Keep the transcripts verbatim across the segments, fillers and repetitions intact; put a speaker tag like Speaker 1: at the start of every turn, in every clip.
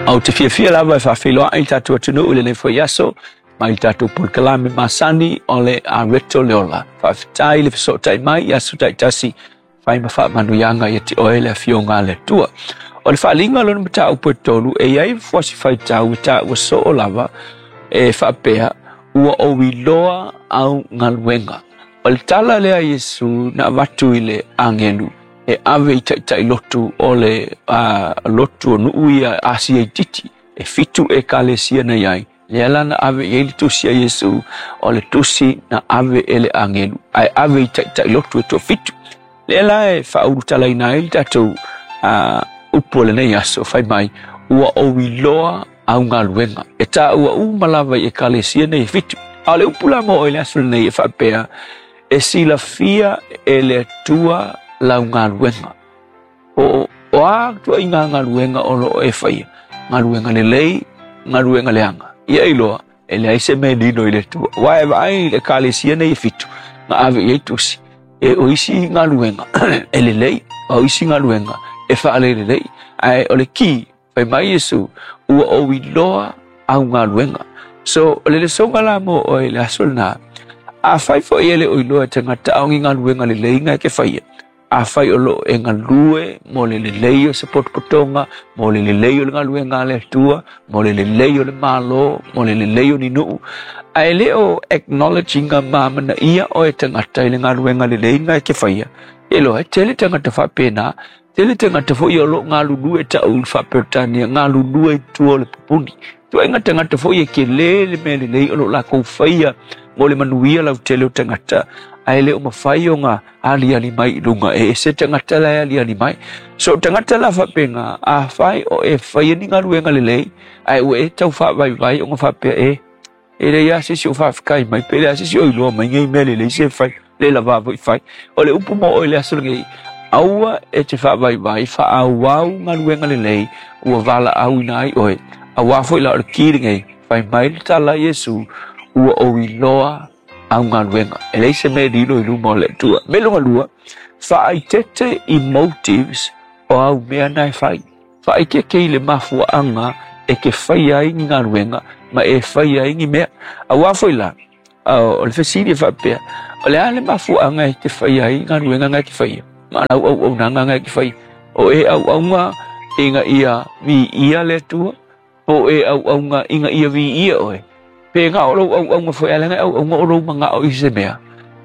Speaker 1: Ou te fiafia lava e faafeiloai i tatou atunuu i lenei foi aso mai le tatou polokalame masani o le Areto le Ola. Faafetai le fesootai mai i aso taitasi fai ma faamanuiaga ia te oe le afioga a le Atua. O le faaaliga o lona mataupu e tolu e iai fuasi faitau e taua soo lava e faapea ua ou iloa au galuega. O le tala lea a Iesu na avatu i le agelu e ave i taitai lotu o le uh, lotu o nuu ia Asia itiiti e fitu ekalesia na iai. Lea la na ave i ai le tusi a Iesu o le tusi na ave e le agelu ae ave i taitai lotu e toafitu. Lea la e faaulutalaina ai le tatou uh, upu o lenei aso fai mai ua ou iloa au galuega e taua uma lava i ekalesia nei e fitu. A o le upu la mo oe le aso lenei e faapea e silafia e le Atua lau galuega. O, o a tuaiga galuega o loo e faia, galuega lelei, galuega leaga. Ia iloa, e leai se mea lilo i le Atua. Aua e vaai i le ekalesia nei e fitu, na ave i ai tusi. E o isi galuega e lelei, o isi galuega e faalelelei. Ae o le ki, fai mai Iesu, ua ou iloa au galuega. So, o le lesoga la mo oe le aso lena, afai foi e le o iloa e tagata a o ni galuega lelei na e ke faia, afai o loo e galue mo le lelei o se potopotoga, mo le lelei o le galuega a le Atua, mo le lelei o le Malo, mo le lelei o ni nuu, ae le o acknowledge ina ma amanaia oe tagata i le galuega lelei na e ke faia, e iloa e tele tagata faapena, tele tagata foi o loo galulue ta'u i le Faa-Peretania, galulue i tua o le pupuni. Tuaiga tagata foi e kelē le mea lelei o loo lakou faia mo le manuia lautele o tagata, ae le o mafai ona aliali mai i luga e ese tagata la e aliali mai. So tagata la faapena, afai o e faia ni galuega lelei, ae ua e tau faavaivai ona faapea e, e leai lava se isi o faafetai mai, pe leai lava se isi o iloa mai nei mea lelei se fai, le lava foi fai. O le upu mo oe le aso lenei, aua e te faavaivai, faaauau galuega lelei ua valaauina ai oe. Auā foi la o le ki lenei, fai mai le tala a Iesu, ua ou iloa au galuega. E leai se mea e lilo i luma o le Atua. Mea lona lua, faaeteete i motives o au mea na e fai. Faaeteete i le mafuaaga e ke faia ai ni galuega ma e faia ai ni mea. Auā foi la, o le fesili e faapea, o le a le mafuaaga e te faia ai galuega na e ke faia? Ma lau auaunaga na e ke faia. O e auauna ina ia viia le Atua, po o e auauna ina ia viia oe. Pe na o lou auauna foi ae leaga e auauna o lou manao i se mea.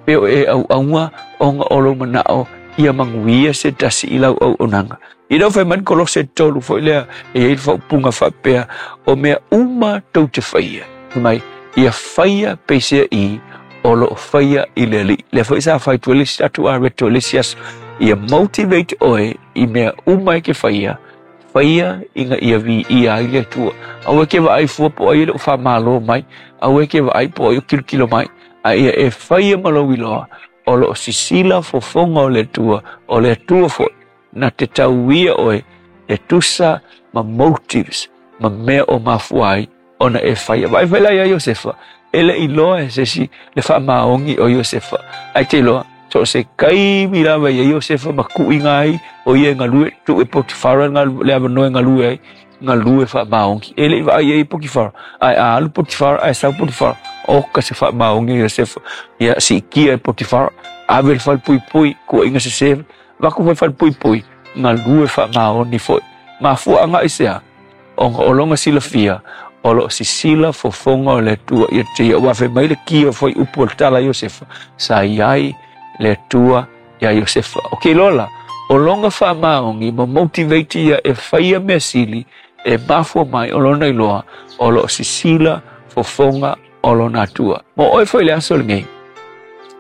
Speaker 1: Pe o e auauna ona o lou manao ia manuia se tasi i lau auaunaga. I lau fai mai le Kolose tolu foi lea e iai le faaupuga faapea o mea uma tou te faia. Fai mai, ia faia peisea i o loo faia i le Alii. Lea foi sa fai atu ai le isi tatou areto i le isi aso. Ia motivate oe i mea uma e ke faia, faia ina ia viia ai le Atua. Aua e ke vaai fua po o ai e le o faamalo mai, aua e ke vaai po o ai o kilokilo mai, ae ia e faia ma lou iloa o loo sisila fofoga o le Atua, o le Atua foi na te tauia oe e tusa ma motives ma mea o mafua ai ona e faia. Vaai foi la ia Iosefa, e le iloa e se isi le faamaoni o Iosefa, ae te iloa so o se taimi lava ia Iosefa ma kuiga ai o ia e galue, tuu e Potifara le avanoa e galue ai, galue faamaoni. E le i vaai ai Potifara, ae a alu Potifara ae sau Potifara, oka se faamaoni a Iosefa. Ia siitia e Potifara, ave le falepuipui, kuaiga sesē, avatu foi falepuipui, galue faamaoni foi. Mafuaaga aisea? Ona o lona silafia o loo sisila fofoga o le Atua ia te ia. Ua fai mai le ki o fuaiupu o le tala a Iosefa, sa i ai le Atua ia Iosefa. O ke iloa la, o lona faamaoni ma motivate ia e faia mea sili e mafua mai o lona iloa o loo sisila fofoga o lona Atua. Mo oe foi le aso lenei,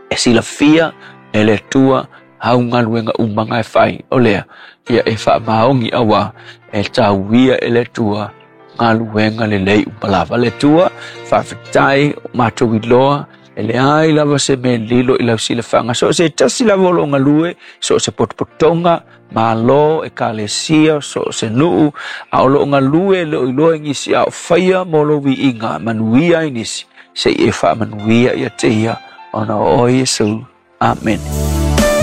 Speaker 1: e silafia e le Atua au galuega uma na e fai, o lea ia e faamaoni auā e tauia e le Atua galuega lelei uma lava. Le Atua, faafetai o matou iloa e leai lava se mea lilo i lau silafaga. So o se tasi lava o loo galue, so o se potopotoga, Malo, ekalesia, so o se nuu, a o loo galue e le o iloa e nisi, a o faia mo lou viiga, manuia ai nisi, se i e faamanuia ia te ia, ona o oe Iesu. Amene.